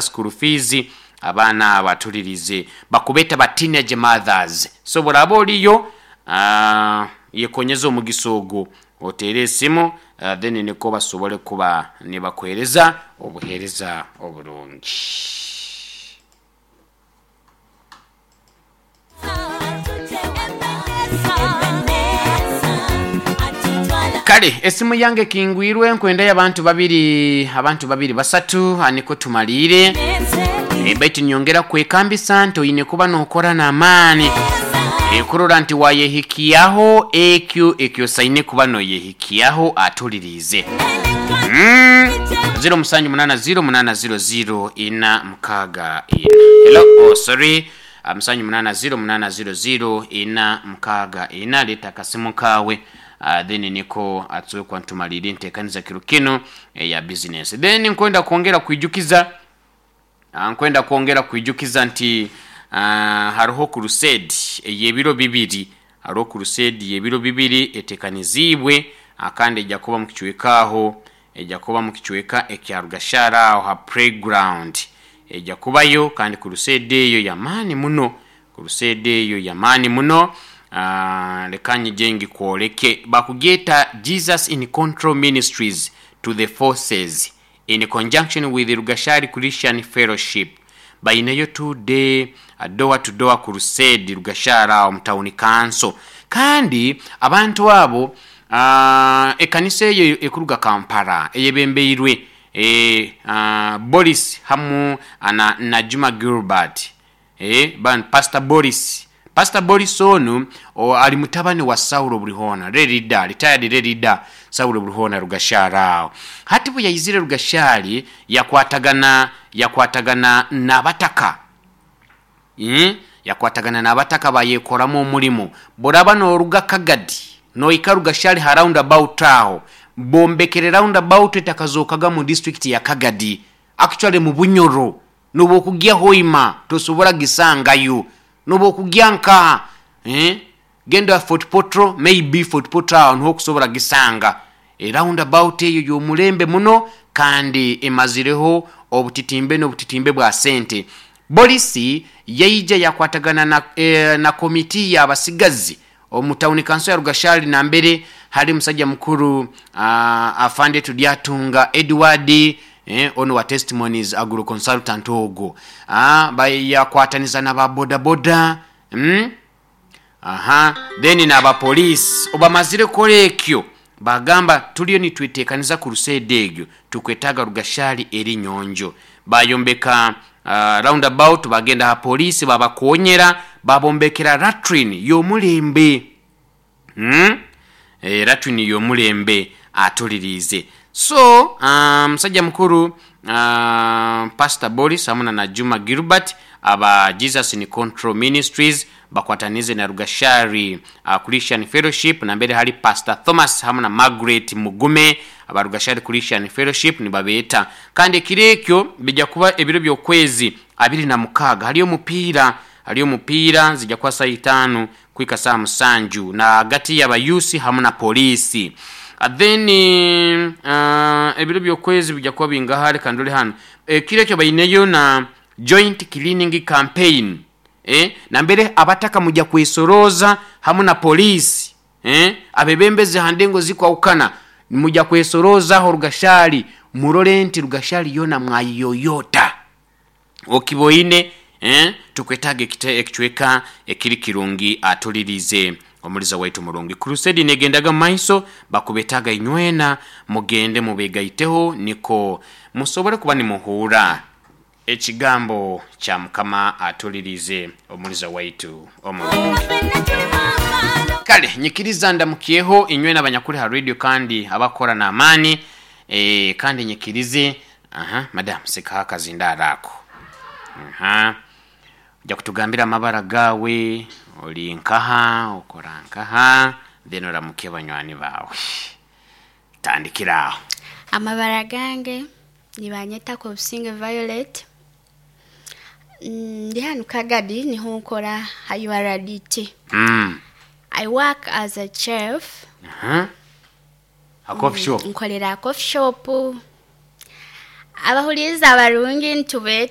School fees abaana abo atulirize bakubeta ba teenage mothers so bworaba oriyo yekonyeze omugisa ogu oteere esimu then nikwo basobole kuba nibakuhereza obuhereza oburungi. Kale esimu yange ekingwirwe nkwendayo abantu babiri abantu babiri basatu nikwo tumaliire. Baitu nyongera kwekambisa nti oine kuba nokora n'amaani kurora nti wayehikiaho ekyo ekyosaine kuba noyehikiaho atuliriize. Ziro musanju munana ziro munana ziro ziro ina mukaaga ina. Hello, oh sorry. Musanju munana ziro munana ziro ziro ina mukaaga ina. Leta akasimu kawe then niko atusobole kuba nitumalirra entekaniza kiro kinu eya business. Then nkwenda kwongera kwijukiza nkwenda kwongera kwijukiza nti haroho crusade ey'ebiro bibiri, haroho crusade y'ebiro bibiri etekaniziibwe kandi ejja kuba mu kicweka aho, ejja kuba mu kicweka ekya Rugashara aho ha playground. Ejja kubayo kandi crusade eyo y'amaani muno, crusade eyo y'amaani muno. Leka nyije ngikwoleke. Bakugyeta Jesus in Control Ministries to the Forces in conjunction with Rugashari Christian Fellowship. Baineyo 2-day door to door crusade Rugashari aho mu town council. Kandi abantu abo ekanisa eyo ekuruga Kampala eyebembeirwe Boris hamu na Juma Gilbert. Pastor Boris. Pastor Boris onu ali mutabani wa Saulo Bulihona, retired, retired leader Saulo Bulihona Rugashari aho. Hati bwe yaizire Rugashari yakwatagana yakwatagana n'abataka. Yakwatagana n'abataka bayekoramu omulimo. Boraba noruga Kagadi noika Rugashari ha roundabout aho, bombekere roundabout etakazokaga mu district ya Kagadi. Actually mu Bunyoro nobu okugya Hoima tosobora gisangayo. Nobu okugya nka genda Fort Portal, maybe Fort Portal aho niho okusobora gisanga. E roundabout eyo y'omulembe muno kandi emazireho obutitimbe n'obutitimbe bwa sente. Boris yaija yakwatagana na komiti y'abasigazi omu tawuni kanso ya Rugashari nambere hali musajja mukuru Afande Tudyatunga Edward, ono wa Testimonies Agro Consultant ogwo. Yakwataniza na ba bodaboda, aha, then n'aba police. Obamazire kukora ekyo bagamba tuliyo nitwetekaniza crusade egyo, tukwetaaga Rugashari eri nyonjo. Bayombeka roundabout, bagenda ha police babakonyera, babombekera latrine y'omulembe. Latrine y'omulembe atuliriize. So musajja mukuru Pastor Boris hamu na Juma Gilbert aba Jesus in Control Ministries bakwatanize na Rugashari Christian Fellowship nambere hali Pastor Thomas hamu na Margaret Mugume aba Rugashari Christian Fellowship nibabeeta. Kandi ekiro ekyo bijja kuba ebiro by'okwezi abiri na mukaaga haliyo omupiira, haliyo omupiira zijja kuba saaha itaanu kuhika saaha musanju na hagati y'abayusi hamu na poliisi. Then ebiro by'okwezi bijja kuba bingaha leka ndole hanu. Ekiro ekyo baineyo na joint cleaning campaign nambere abataka mujja kwesorooza hamu na poliisi, abebembezi ha ndengo zikwahukana mujja kwesoroozaho Rugashari murole nti Rugashari yoona mwayiyoyoota. Okiboine tukwetaaga ekicweka ekiri kirungi atulirize omuliza waitu murungi. Crusade negendaga mu maiso, bakubetaaga inywena mugende mubegaiteho niko musobole kuba nimuhuura ekigambo kya Mukama atulirize omuliza waitu omurungi. Kale nyikiriza ndamukyeho inywena abanyakuli ha radio kandi abakora n'amaani, kandi nyikirize aha madam sikaho akazindaaro ako. Aha ojja kutugambira amabara gaawe, ori nkaha, okora nkaha, then oramukye banywani baawe. Tandikira aho. Amabara gange nibanyeta Kobusinge Violet, ndi hanu Kagadi niho nkora ha URDT. I work as a chef. Ha coffee shop? Nkolera ha coffee shop. Abahuliiriza abarungi nitubeeta.